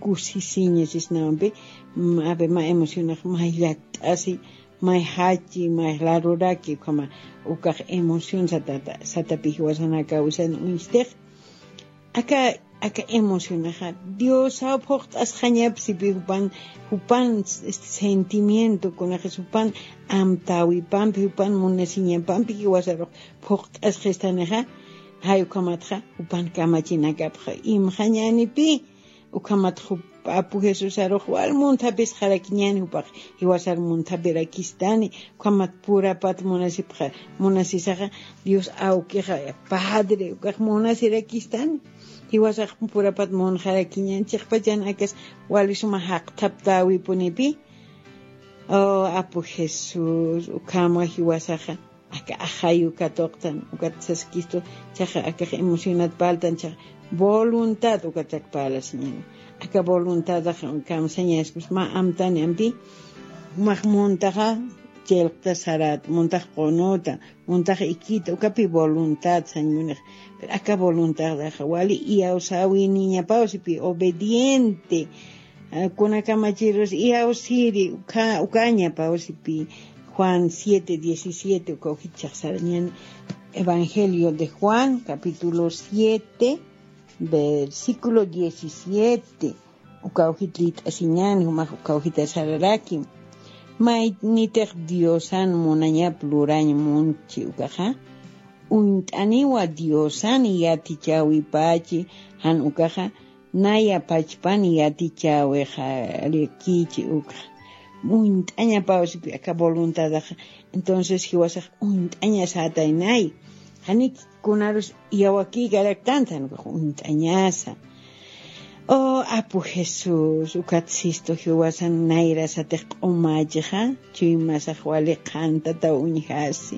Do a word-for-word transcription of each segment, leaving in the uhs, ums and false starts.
kusisiña sisnawampi, mm, ave mä emocionax may llakt'asi, may jachi, may laruraki, ukhama ukax emoción satata, satapi jiwasanakawisan uñstix. Aka, aka emocionaxa Diosaw phuqt'asxañapsipi jupan, jupan, este, sentimiento, kunaqis jupan amtäwipampi, jupan munasiñapampi jiwasarux phuqt'asxistanixa, jay ukhamatxa jupan kamachinakapxa imxañänipi. Ukhamat jup apu Jesusarux wal munthapisxarakiñäni, jupax jiwasar munthapirakistani. Ukhamat purapat munasipxa, munasisaxa Dios awkixa Padre ukax munasirakistani. Jiwasax purapat munxarakiñäni, chiqpachan akas wali suma jaqthaptäwipunipi. Oh, apu Jesús, ukhama jiwasaxa aka axayu katuqtan, ukat saskistu, chaxa akax emocionat parltan, chaxa voluntad ukat parlasiñäni. Aka voluntadax kamsañaspas mä amtani ampi, jumax muntaxa chillqta sarata, muntax qunuta, muntax ikita, ukapi voluntad sañ munix. Pero aka voluntadaxa wali iyawsäwiniñapawsipi, obediente, ah, kuna kamachirus iyawsiri, uka, ukañapawsipi. Juan siete diecisiete, uka ujit chaqsarañäni. Evangelio de Juan, capítulo siete, versículo diecisiete. Uka ujit lït'asiñäni, jumax uka ujita sararaki. Maynitix Diosan munañap lurañ munchi ukaxa, uñt'aniwa Diosan yatichäwipachi, jan ukaxa naya pachpan yatichäwixarakichi ukxa. Uñt'añapawsipi aka voluntadaxa. Entonces jiwasax uñt'añasätaynay. Janik kunarus iyawakïkaraktantan uñt'añasa. Oh, apu Jesús, ukat sistu jiwasan nayrasatix q'umächixa, chuymasax wali qhantataw uñjasi.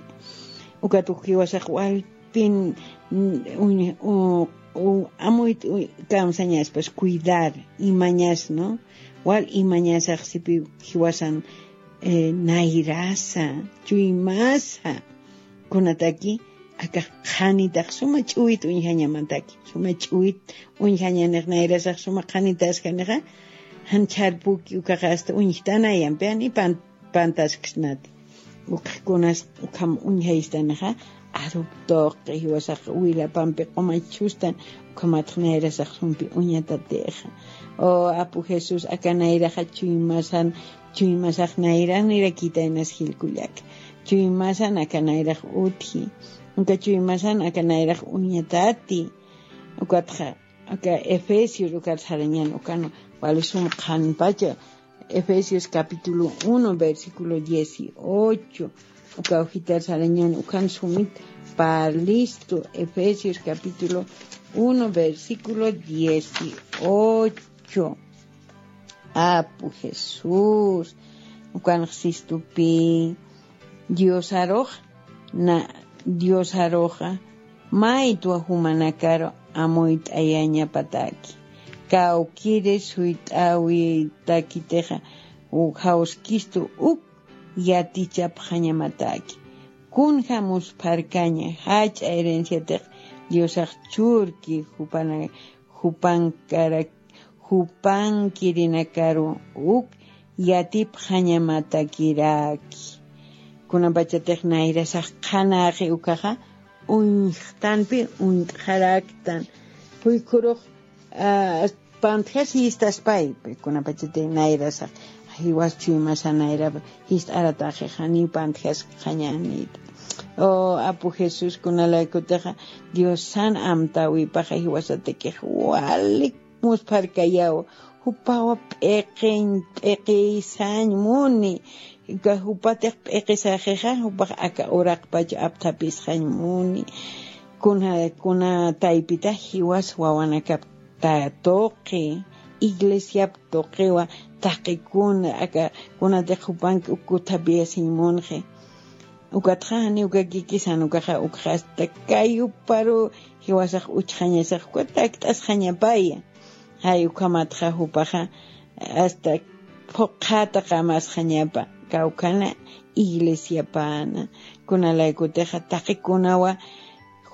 Ukat uk jiwasax wal pin, mm, uñ-, u-, u-, amuyt, u-, kamsañaspas cuidar, imañas, ¿no? Wal imañasax sipi jiwasan, eh, nayrasa, chuymasa, kunataki, akax qhanitax suma ch'uwit uñjañamataki, suma ch'uwit uñjañanix, nayrasax suma qhanitaskanixa, jan chharpuki ukaxa hasta uñjtanayampi, jan ipan pantasksnati. Ukxkunas ukham uñjaystanixa, arup tuqi jiwasax wilapampi q'umachustan, ukhamatx nayrasax sumpi uñatatixa. O apu Jesús, aka nayraxa chuymasan, chuymasax nayranirakitänas jilkullaka. Chuymasan aka nayrax utji. Uka chuymasan aka nayrax uñatati. Ukatxa, aka Efesios ukat sarañan, ukan wali sum qhanpacha. Efesios capítulo uno, versículo dieciocho. Uka ujitar sarañan, ukan sumit parlistu. Efesios capítulo uno, versículo dieciocho. Apu Jesús, ukan sistupi, Diosarux, na, Diosaruxa, maytwa jumanakaru amuyt'ayañapataki. Kawkiri suyt'awitakitixa, u-, jawskistu uk yatichapxañamataki. Kunja muspharkaña, jach'a herenciatix Diosax churki, jupana, jupankarak, jupankirinakaru uk yatipxañamatakiraki. Kunapachatix nayrasax qhanäxi ukaxa, uñjtanpi uñt'xaraktan. Juykhurux, ah, pantjas jistaspaypi, kunapachatix nayrasax, jiwas chuymasan nayrap jist'aratäxi, janiw pantjaskxañänit. O, apu Jesús, kunalaykutixa, Diosan amtäwipaxa jiwasatakix walik muspharkayaw, jupawa p'iqiñ, p'iqiysañ muni, ka jupatix p'iqisaxixa, jupax aka uraqpach apthapisxañ muni. Kuna, kuna taypita jiwas wawanakap ta-, tuqi, iglesiap tuqiwa, taqi kuna, aka, kunatix jupanki uk kuthapiyasiñ munxi. Ukatxa janiw kakikisan, ukaxa, ukxa hasta kayuparu jiwasax uchxañasax, ukat takt'asxañapaya. Jay ukhamatxa jupaxa, hasta phuqhata qamasxañapa, kawkhana iglesiapana, kunalaykutixa taqi kunawa,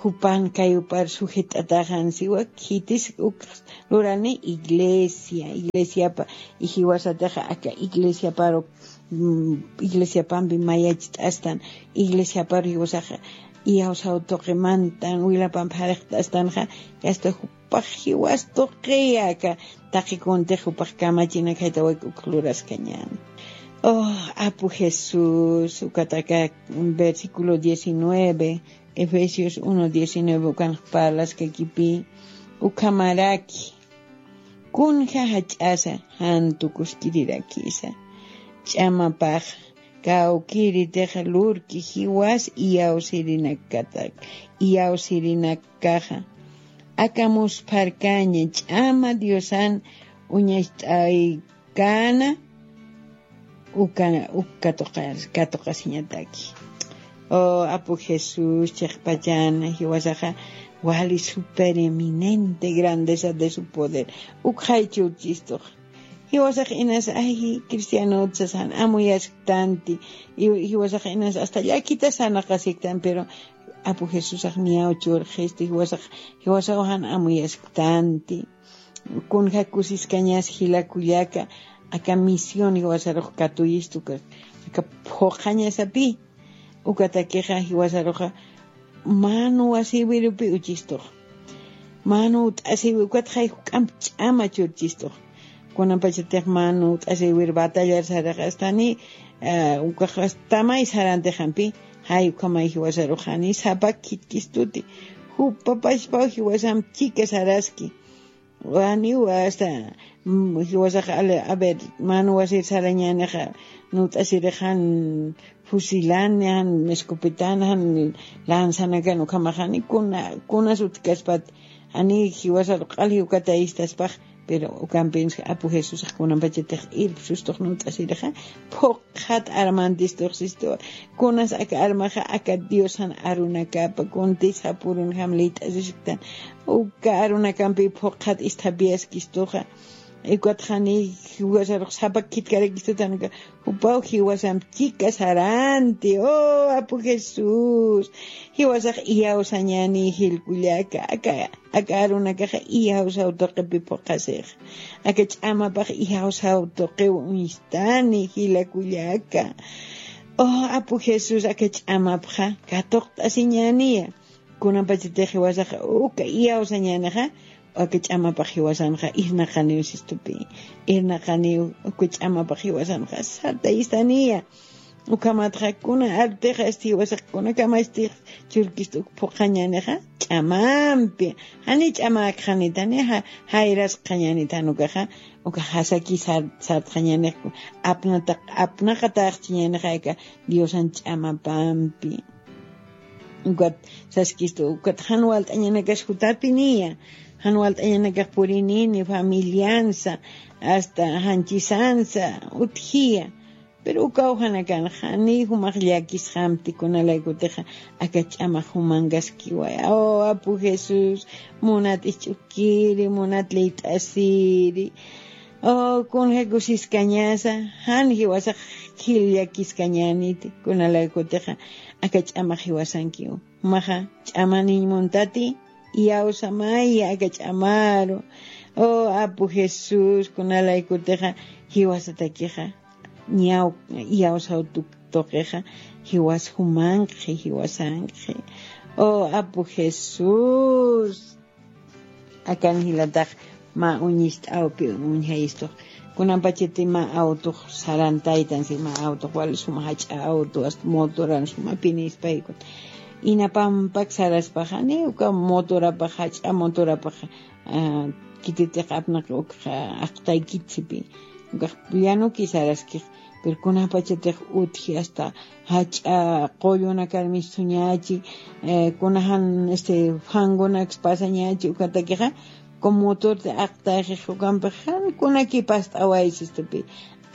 Jupan kayupar sujet'ataxan siwa khitis uk lurani iglesia iglesiapa. Ijiwasataxa aka iglesiaparu iglesiapampi mayacht'astan iglesiaparu jiwasaxa iyawsaw tuqimantan wilapampi jariqt'astanxa. Yasta jupax jiwas tuqiya aka taqikuntix jupax kamachinakhaytawak uk luraskañani. Oh, apu jesús ukataka versículo diecinueve, efesios uno diecinueve ukanx parlaskakipi ukhamaraki kunja jach'asa jantu kuskirirakisa ch'amapax kawkiritixa lurki jiwas iyawsirinakkatak iyawsirinakkaxa akamuspharkaña ch'ama diosan uñacht'aykana uka uka katuqasiñataki. Oh apu jesús chiqpachana jiwasaxa wali supereminente grandeza de su poder. Ukxaychurchistuxa jiwasax inas ay cristianot sasan amuyasktanti. Jiwasax inas asta llakita sanaqasiktan pero apu jesusax niyaw churxisti jiwasax jiwasaw jan amuyasktanti. Kunja kusiskañas jilakullaka aka misión jiwasarux katuyistu aka phuqhañasapi. Ukatakixa jiwasaruxa manu wasiwirupi uchistux manu ut'asiwi ukatxay juk'amp ch'ama churchistux. Kunapachatix manu ut'asiwir batallar saraxastani ukaxastamay sarantixampi jay ukhamay jiwasaruxani sapak khitkistuti jupapachpaw jiwasamp chika saraski. Waniwa asta jiwasaxa a ver manu wasir sarañänixa nut'asirixan fusilani jan escopetan jan lanzanakan ukhamaxani kuna kunas utkaspati jani jiwasaru q'al jiwkatayistaspax. Pero ukampinsi apu jesusax kunapachatix irpsustux nut'asirixa phuqhat armantistux sistuwa. Kunas aka armaxa aka diosan arunakapa kuntis japurunjam liyt'asishktan uka arunakampi phuqhat isthapiyaskistuxa. Ukatxani jiwasarux sapa khitkarakistutanuka jupaw jiwasamp chika saranti. Oh apu jesús jiwasax iyawsañani jilkullaka aka aka arunakaxa iyawsaw tuqipi phuqhasixa aka ch'amapax iyawsaw tuqiw uñstani jilakullaka. Oh apu jesús aka ch'amapxa katuqt'asiñäniya. Kunapachatix jiwasaxa uka iyawsañänixa aka ch'amapax jiwasanxa irnaqaniw sistupi irnaqaniw uka ch'amapax jiwasanxa sartayistaniya. Ukhamatxa kuna artix asti jiwasax kunakamastix churkista uk phuqhañänixa ch'amampi jani ch'amäkxanitani jayrasqañänitani ukaxa uka jasaki sartxañänix apnaqataxchiñänixa aka diosan ch'amapampi. Ukat saskistu ukat jan walt'añanakas jutapiniya jan walt'añanakax purinini familiansa asta janchisansa utjiya. Pero ukaw janakan janiy jumax llakisxamti kunalaykutixa aka ch'amax jumankaskiway. Oh apu jesús munat isch'ukiri munat liyt'asiri. Oh kunja kusiskañasa jan jiwasax jil llakiskañäniti kunalaykutixa aka ch'amax jiwasankiw. Jumaxa ch'amaniñ muntati iyawsamaya aka ch'amaru. Oh apu jesús kunalaykutixa jiwasatakixa ñaw iyawsaw tuqixa jiwas jumanqi jiwasanqi. Oh apu jesús. Akan jilatax mä uñist'awpi uñjayistux kunapachati mä awtux sarantaytan si mä awtux wali suma jach'a awtu asta motoran suma pinispaykun inapampak saraspaxani uka motorapax jach'a motorapax kititiq apnaq ukxa aqtaykitsipi ukax llanuki saraskix. Pero kunapachatix utji asta jach'a qullunakar mistuñachi kunajan este fangunaks pasañachi ukatakixa como motorti aqtayxix ukampix jan kunaki past'awaysistupi.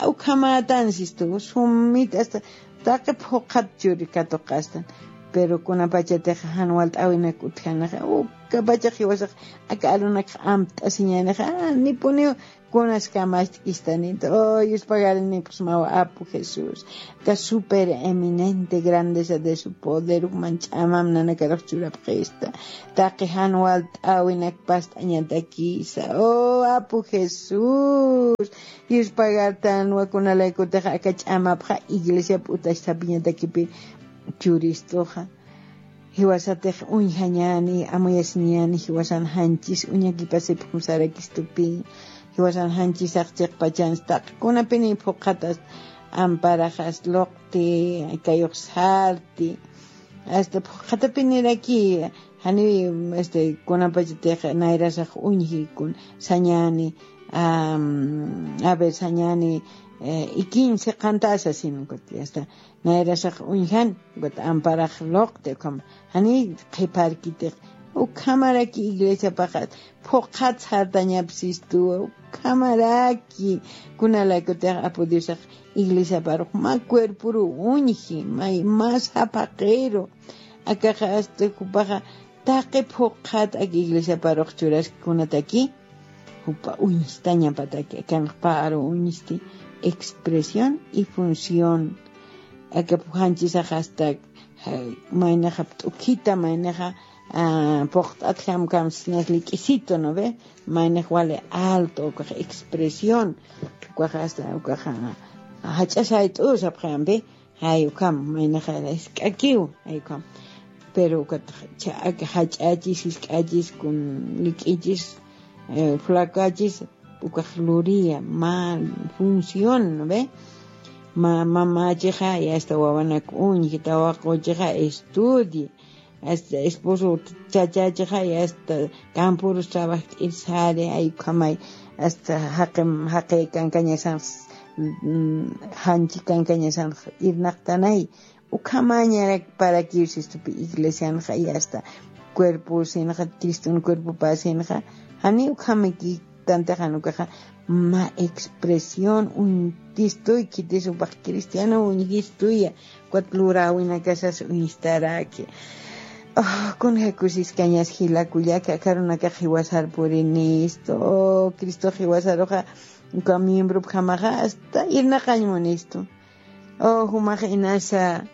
Ukhamatan sistu sumit asta taqi phuqhat churi katuqastan. Pero kunapachatix jan walt'awinak utjanaxa ukapachax jiwasax aka alunakxa amt'asiñanixa nipuniw Kunas kamacht'istanit. Oh, yuspagarinikusmawa apu Jesús. Ka super eminente grandeza de su poder ukman ch'amam nanakarux churapxista. Taqi jan walt'awinak past'añatakisa. Oh, apu Jesús. Yuspagartanwa kunalaykutix aka ch'amapxa iglesia p'utax sapiñatakipi churistuxa. Jiwasatix uñjañani, amuyasiñani, jiwasan janchis uñakipasipxum sarakistupi, jiwasan janchisax chiqpachanstaq, kunapini phuqhatas amparaxas luqti, kayux sarti, hasta phuqhatapiniraki, jani, este, kunapachatix nayrasax uñji kun, sañani, am, a ver, sañani, eh, ikiñ siqantasa sin, hasta, nayrasax uñjan, ukat amparax luqti, ukham, jani qhiparkitix, ukhamaraki iglesiapaxa, phuqhat sartañapsistuwa, ukhamaraki, kunalaykutix apu Diosax iglesiaparux, mä cuerporu uñji, mä, mä saphaqiru, akaxa hasta jupaxa, taqi phuqhat ak iglesiaparux churaski kunataki, jupa uñstañapataki, akanx paru uñsti, expresión y función. Aka pujanchisax hasta, ja, maynaxa pt'ukhita, maynaxa, ah, puqt'at jamkamsnas lik'isito, ¿no ve? Maynax wali alto, ukax expresión, ukax hasta, ukax, ah, jach'a sayt'u sapxampi, jay ukham, maynaxa isk'akiw, jay ukham. Pero ukat cha-, jach'achis, isk'achis, kun lik'ichis, eh, flacachis, ukax luria, mal función, ¿no ve? Ma-, mamachixa, y hasta wawanak uñji, tawaquchixa, estudie, hasta esposo chachachixa, y hasta campurus trabajt'ir sari, ay ukhamay, hasta jaqim, jaqi kankañasan, mm, janchi kankañasan irnaqtanay, ukhamañarak para que sistupi iglesianxa, y hasta cuerpo sinxa, Cristun cuerpo pasinxa, jani ukhamiki tantaxan ukaxa, mä expresión, uñtistuy, khitis upax cristiano uñjistuya, ukat luräwinakasas uñstaraki. Oh, kunja kusiskañas jila kullaka, aka arunakax jiwasar purinistu. Oh, Cristo jiwasaruxa, uka miembropjamaxa, hasta irnaqañ munistu. Oh, jumax inasa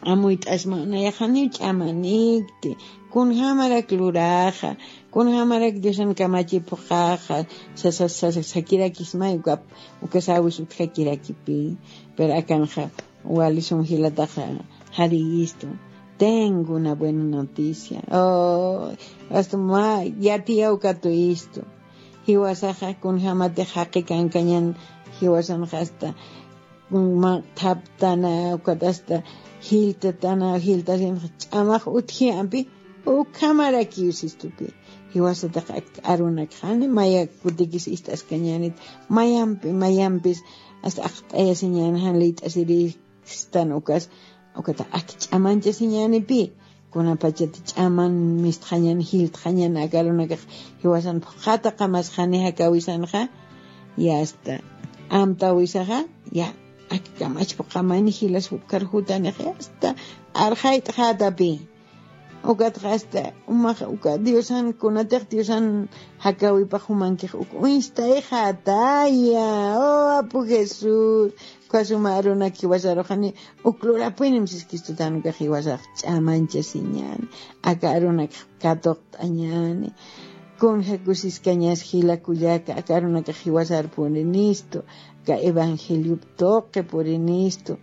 amuyt'asma, nayax janiw ch'amanikti, kunjamarak luraxa, kunjamarak Diosan kamachi phuqaxa, sa-, sa-, sa-, sa-, sakirakismay, uka, uka sawis utjakirakipi, pero akanxa wali sum jilataxa jariyistu. Tengo una buena noticia. Oh, hasta mä yatiyaw katuyistu. Jiwasaxa kunjamatix jaqi kankañan, jiwasanxa hasta mä thaptana, ukat hasta jiltatana, jiltasinxa ch'amax utji ampi, ukhamarakiw sistupi. Jiwasatax ak-, arunakxani, maya kutikis ist'askañänit, mayampi, mayampis, hasta aqt'ayasiñän jan liyt'asiri, stan ukas, ukata ak ch'amanchasiñänipi, kunapachat ch'aman mistxañan, jiltxañan, aka arunakax jiwasan phuqhata qamasxani jakawisanxa, y hasta amtäwisaxa, ya, ak kamach phuqhamayni jilas jukar jutanix, ya, hasta arxayt'xätapi. Ukatxa hasta, umax, uka Diosan, kunatix Diosan jakawipax jumankix, uk uñstayxätaya, oh, Apu Jesús, uka suma arunak jiwasaruxani, uk lurapunim siskistutan ukax jiwasax ch'amanchasiñäni, aka arunak katuqt'añäni. Kunja kusiskañas jila kullaka, aka arunakax jiwasar purinistu, aka evangeliop tuqi purinistu,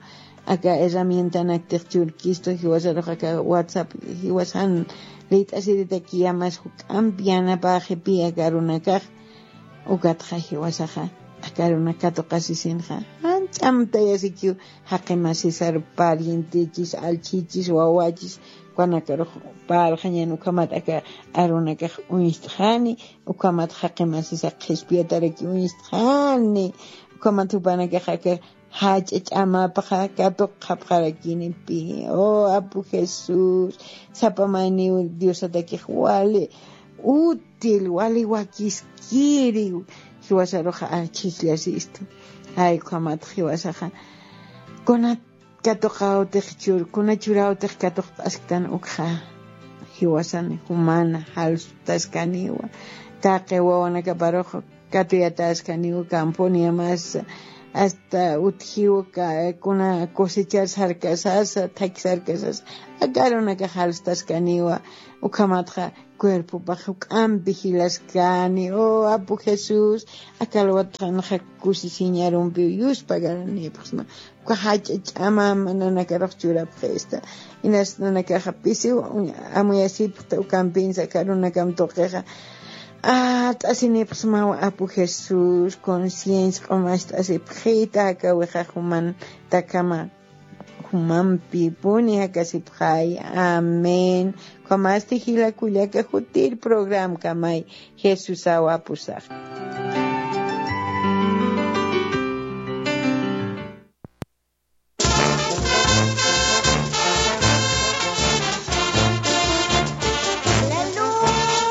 aka herramientanaktix churkistu, jiwasarux aka WhatsApp, jiwasan liyt'asiritaki yamas juk'amp yanapäxipi aka arunakax, ukatxa jiwasaxa, aka arunak katuqasisinxa, jan ch'amtayasikiw, jaqi masisar parientechis, allchhichis, wawachis, ukanakarux parxañän, ukhamat aka arunakax uñstxani, ukhamat jaqi masisa qhispiyataraki uñstxani, ukhamat jupanakax aka jach'a ch'amapxa katuqxapxarakinipi. Oh, Apu Jesús, sapa mayniw Diosatakix wali útil, wali wakiskiri, jiwasaruxa achhijllasistu. Ay, ukhamat jiwasaxa, kuna katuqawtix chur, kuna churäwtix katuqt'asktan ukxa, jiwasan jumana jalsutaskaniwa, taqi wawanakaparux Katuyataskaniw ukampuniya mas hasta utjiw ka kuna cosechar sarkasasa thaki sarkasasa akarunaka jalstaskaniwa. Ukhamatxa cuerpopax juk'ampi jilaskani o apu jesús. Akalwatxanxa kusisiñarumpiw yuspagaranipaxsma uka jach'a ch'amama nanakarux churapxista. Inas nanakaxa pisiw amuyasipxta ukampinsa karunakam tuqixa at'asinipxsmaw apu jesús conciencia q'umacht'asipxita jakawixa jumantakama jumampipuni jakasipxay. Amén. Ukhamasti jilakullaka jutir programkamay jesusaw apusax.